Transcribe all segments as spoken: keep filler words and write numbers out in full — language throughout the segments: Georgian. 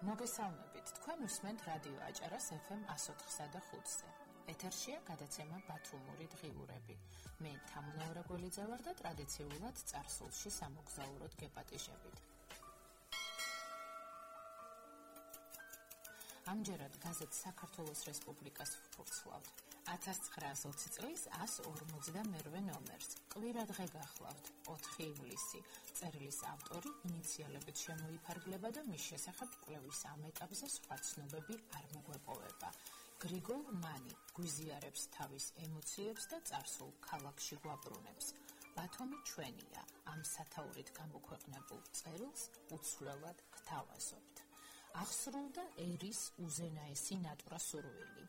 მოგესალმებით, თქვენ უსმენთ რადიო აჭარას ეფ ემ one oh four და ხუთზე. ეთერშია გადაცემა ბათუმური დღიურები. მე თამუნაურა გველიძე ვარ და ტრადიციულად წარსულში სამოგზაუროდ გეპატიჟებით. ამჯერად გაზეთ საქართველოს რესპუბლიკას ვფურცლავთ. ათას ცხრაას ოცი წლის one forty-two ნომერს. კვირა დღე გახლავთ, ოთხი ივლისი. წერილის ავტორი ინიციალებით შემოიფარგლება და მის შესახებ კვლევის ამ ეტაპზე სხვა ცნობები არ მოგვეპოვება. გრიგოლ მანი გვიზიარებს თავის ემოციებს და წარსულ ქალაქში გვაბრუნებს. ბათუმი ჩვენია, ამ სათაურით გამოქვეყნებულ წერილს უცვლელად გთავაზობთ. აღსრულდა ერის უზენაესი ნატვრა სურვილი.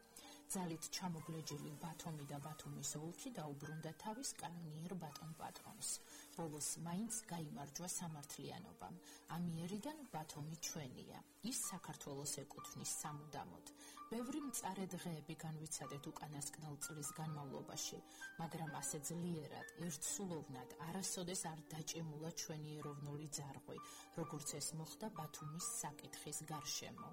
ძალით ჩამოგლეჯილი ბათუმი და ბათუმის ოლქი დაუბრუნდა თავის კანონიერ ბატონ პატრონს. ბოლოს მაინც გაიმარჯვა სამართლიანობამ. ამიერიდან ბათუმი ჩვენია. ის საქართველოს ეკუთვნის სამუდამოდ. ბევრი მწარე დღეები განვიცადეთ უკანასკნელ წლის განმავლობაში, მაგრამ ასე ძლიერად, ერთსულოვნად არასოდეს არ დაჭიმულა ჩვენი ეროვნული ძარღვი, როგორც ეს მოხდა ბათუმის საკითხის გარშემო.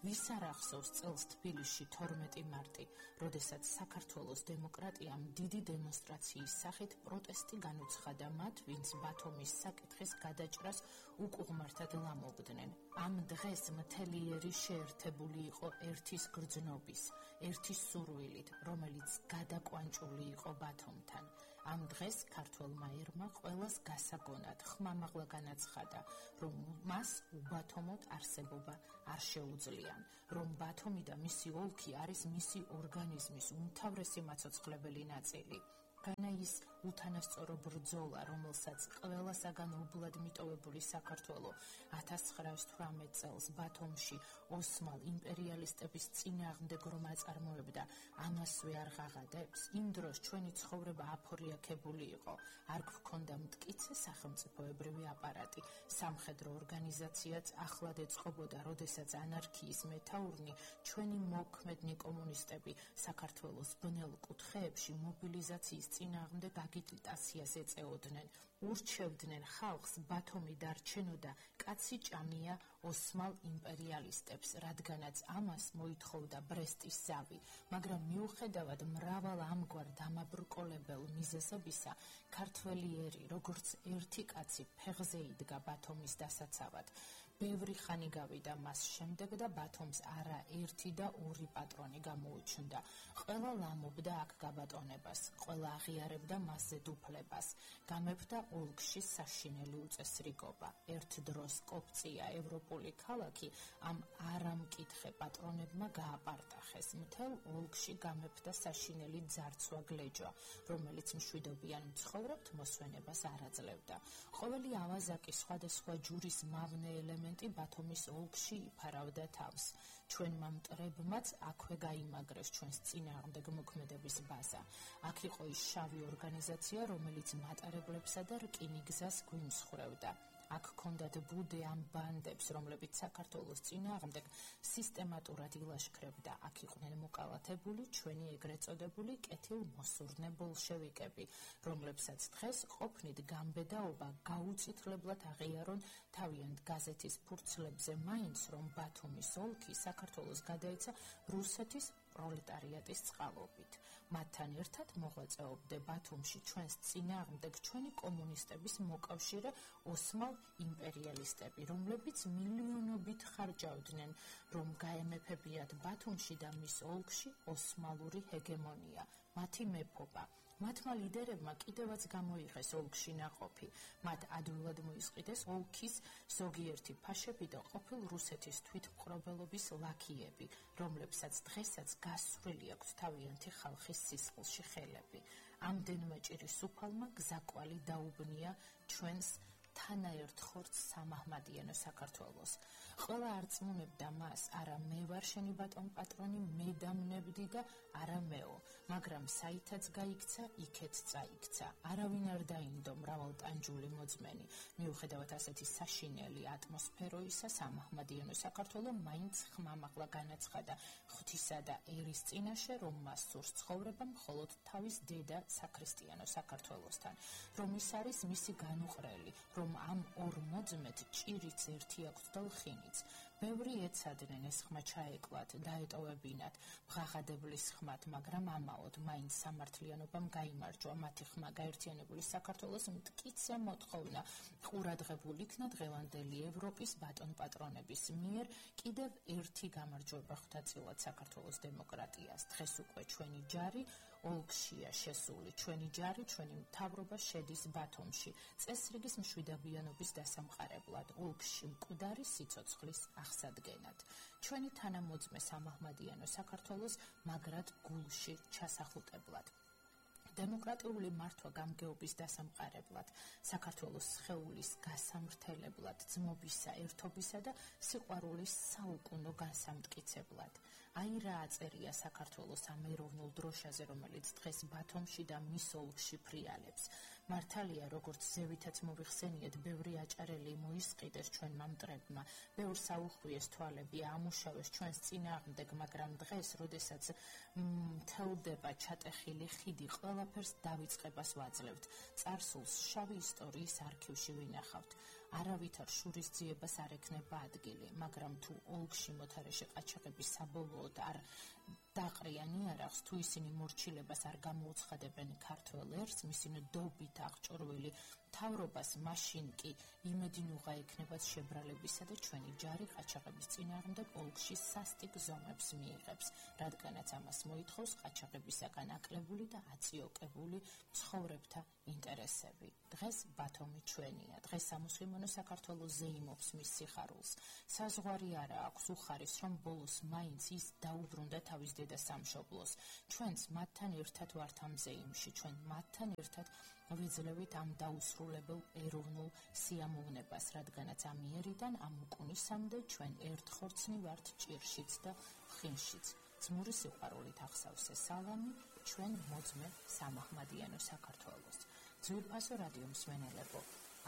ვის არ ახსოვს წელს თბილისში თორმეტი მარტი, როდესაც საქართველოს დემოკრატიამ დიდი დემონსტრაციის სახით პროტესტი განუცხადა მათ, ვინც ბათუმის საკითხის გადაჭრას უკუღმართად ლამობდნენ. ამ დღეს მთელი ერი შეერთებული იყო ერთის გრძნობის, ერთის სურვილით, რომელიც გადაკვანჭული იყო ბათუმთან. ამ დღეს ქართველმა ერმა ყველას გასაგონად ხმამაღლა განაცხადა, რომ მას უბათომოდ არსებობა არ შეუძლია, რომ ბათუმი და მისი ოლქი არის მისი ორგანიზმის უმთავრესი მაცოცხლებელი ნაწილი. განა ის უთანასწორო ბრძოლა, რომელსაც ყველასაგან უბლად მიტოვებული საქართველო ათას ცხრაას თვრამეტ წელს ბათუმში ოსმალ იმპერიალისტების წინააღმდეგ რომ აწარმოებდა, ამასვე არ ღაღადებს. იმ დროს ჩვენი ცხოვრება აფორიაქებული იყო, არ გვქონდა მტკიცე სახელმწიფოებრივი აპარატი, სამხედრო ორგანიზაციაც ახლად ეწყობოდა, როდესაც ანარქიის მეთაურნი, ჩვენი მოქმედნი კომუნისტები საქართველოს ბნელ კუთხეებში მობილიზაციის წინააღმდეგ აგიტაციას ეწეოდნენ, ურჩევდნენ ხალხს ბათუმი დარჩენოდა კაცი ჭამია ოსმალ იმპერიალისტებს, რადგანაც ამას მოითხოვდა ბრესტის ზავი, მაგრამ მიუხედავად მრავალ ამგვარ დამაბრკოლებელ მიზეზებისა, ქართველი ერი, როგორც ერთი კაცი ფეხზე იდგა ბათუმის დასაცავად. ბევრი ხანი გავიდა მას შემდეგ და ბათუმს არა ერთი და ორი პატრონი გამოუჩნდა. ყველა ლამობდა აქ გაბატონებას, ყველა აღიარებდა მასზე დუფლებას, გამეფდა ოლქში საშინელი უწესრიგობა. ერთ დროს კოპწია ევროპული ქალაქი ამ არამკითხე პატრონებმა გააპარტახეს. მთელ ოლქში გამეფდა საშინელი ძარცვა გლეჯვა, რომელიც მშვიდობიან მცხოვრებთ მოსვენებას არ აძლევდა. ყოველი ავაზაკი სხვადასხვა ჯურის მავნე ელემენტი ბათუმის ოლქში იფარავდა თავს. ჩვენმა მტრებმაც აქვე გაიმაგრეს ჩვენს წინააღმდეგ მოქმედების ბაზა. აქ იყო ის შავი ორგანიზაცია, რომელიც მატარებლებსა და რკინიგზას გვიმსხვრევდა. აქ ჰქონდათ ბუდე ამ ბანდებს, რომლებიც საქართველოს წინააღმდეგ სისტემატურად ილაშქრებდა. აქ იყვნენ მოკალათებული ჩვენი ეგრეთ წოდებული კეთილმოსურნე ბოლშევიკები, რომლებსაც დღეს ყოფნით გამბედაობა გაუწითლებლად აღიარონ თავიანთ გაზეთის ფურცლებზე, მაინც რომ ბათუმის ოლქი საქართველოს გადაეცა რუსეთის პროლეტარიატის წყალობით. მათთან ერთად მოღვაწეობდა ბათუმში ჩვენს წინააღმდეგ ჩვენი კომუნისტების მოკავშირე ოსმალ იმპერიალისტები, რომლებიც მილიონობით ხარჯავდნენ, რომ გაემეფებიათ ბათუმში და მის ოლქში ოსმალური ჰეგემონია, მათი მეფობა. მათმა ლიდერებმა კიდევაც გამოიღეს ოლქში ნაყოფი, მათ ადვილად მოისყიდეს ოლქის ზოგიერთი ფაშები და ყოფილ რუსეთის თვითმკვლელობის ლაქიები, რომლებსაც დღესაც გასვლილი აქვს თავიანთი ხალხის სისხლში ხელები. ამდენმა ჭირის უფალმა გზაკვალი დაუბნია ჩვენს თანაერთ ხორცს სამაჰმადიანო საქართველოს. ყველა არწმუნებდა მას, არა მე ვარ შენი ბატონ პატრონი, მე დამნებდი და არა მეო, მაგრამ საითაც გაიქცა, იქეთ წაიქცა. არავინ არ დაინდო მრავალტანჯული მოძმენი. მიუხედავად ასეთი საშინელი ატმოსფეროისა, სამაჰმადიანო საქართველო მაინც ხმამაღლა განაცხადა ღვთისა და ერის წინაშე, რომ მას სურს ცხოვრება მხოლოდ თავის დედა საქრისტიანო საქართველოსთან, რომ ის არის მისი განუყრელი, რომ ამ ორ მოძმეთ ჭირიც ერთი აქვს და ლხინიც. ბევრი ეცადნენ ეს ხმა ჩაეკლათ, დაეტოვებინათ მღაღადებლის ხმად, მაგრამ ამაოდ მაინც სამართლიანობამ გაიმარჯვა. მათი ხმა გაერთიანებული საქართველოს მტკიცე მოთხოვნა ყურადღებულ იქნა დღევანდელი ევროპის ბატონპატრონების მიერ კიდევ ერთი გამარჯვება ხვდაწილად საქართველოს დემოკრატიას. დღეს უკვე ჩვენი ჯარი ოლქშია შესული, ჩვენი ჯარი, ჩვენი მთავრობა შედის ბათუმში, წესრიგის მშვიდობიანობის დასამყარებლად, ოლქში მკვდარი სიცოცხლის აღსადგენად. ჩვენი თანამოძმე სამაჰმადიანო საქართველოს მაგრად გულში ჩასახუტებლად. დემოკრატიული მართვა გამგეობის დასამყარებლად, საქართველოს სხეულის გასამრთელებლად, ძმობისა, ერთობისა და სიყვარულის საუკუნო განსამტკიცებლად. აი რა აწერია საქართველოს ამ ეროვნულ დროშაზე, რომელიც დღეს ბათუმში და მის ოლქში ფრიალებს. მართალია, როგორც ზევითაც მოვიხსენიეთ, ბევრი აჭარელი მოისყიდეს ჩვენმა მტრებმა, ბევრს აუხვიეს თვალები, ამუშავეს ჩვენს წინააღმდეგ, მაგრამ დღეს, როდესაც მთელდება ჩატეხილი ხიდი, ყველაფერს დავიწყებას ვაძლევთ. წარსულს შავი ისტორიის არქივში ვინახავთ. არავითარ შურისძიებას არ ექნება ადგილი, მაგრამ თუ ოლქში მოთარეშე ყაჩაღები საბოლოოდ არ დაყრიან იარაღს, თუ ისინი მორჩილებას არ გამოუცხადებენ ქართველ ერს, მისი ნდობით აღჭურვილი მთავრობას, მაშინ კი იმედინუღა ექნებათ შებრალებისა და ჩვენი ჯარი ყაჩაღების წინააღმდეგ ოლქში სასტიკ ზომებს მიიღებს, რადგანაც ამას მოითხოვს ყაჩაღებისაგან აკლებული და აწიოკებული მცხოვრებთა ინტერესები. დღეს ბათუმი ჩვენია, დღეს სამუსლიმანო საქართველოს ზეიმობს მის სიხარულს. საზღვარი არა აქვს, უხარის, რომ ბოლოს მაინც ის დაუბრუნდა თავის დედა სამშობლოს. ჩვენც მათთან ერთად ვართ ამ ზეიმში, ჩვენ მათთან ერთად ვიძლევით ამ დაუსრულებელ ეროვნულ სიამოვნებას, რადგანაც ამ იერიდან ამ უკუნისამდე ჩვენ ერთხორცნი ვართ ჭირშიც და ხინშიც. ძმური სიყვარულით ახსავსე სალამი ჩვენ მოძმე სამაჰმადიანო საქართველოს. ძვირფასო რადიო მსმენელებო,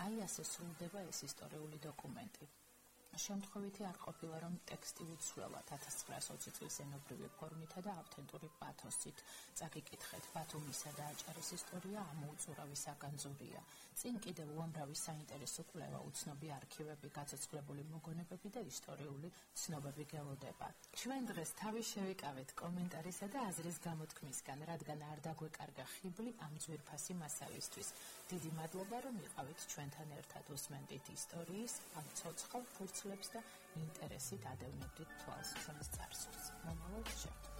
აი ასე სრულდება ეს ისტორიული დოკუმენტი. შემთხვევითი არ ყოფილა, რომ ტექსტი უცვლელად ათას ცხრაასი ოცი წლის ენობრივი ფორმითა და ავთენტური პათოსით წაგიკითხეთ. ბათუმისა და აჭარის ისტორია ამოუწურავი საგანძურია. წინ კიდევ უამრავი საინტერესო კვლევა, უცნობი არქივები, გაცოცხლებული მოგონებები და ისტორიული ცნობები გელოდება. ჩვენ დღეს თავი შევიკავეთ კომენტარისა და აზრის გამოთქმისგან, რადგან არ დაგვეკარგა ხიბლი ამ ძვირფასი მასალისთვის. დიდი მადლობა, რომ იყავით ჩვენთან ერთად, უსმენდით ისტორიის ამ ცოცხალ ფურცლებს და ინტერესით ადევნებდით თვალს ჩვენს წარსულს. მომავალ შეხვედრამდე.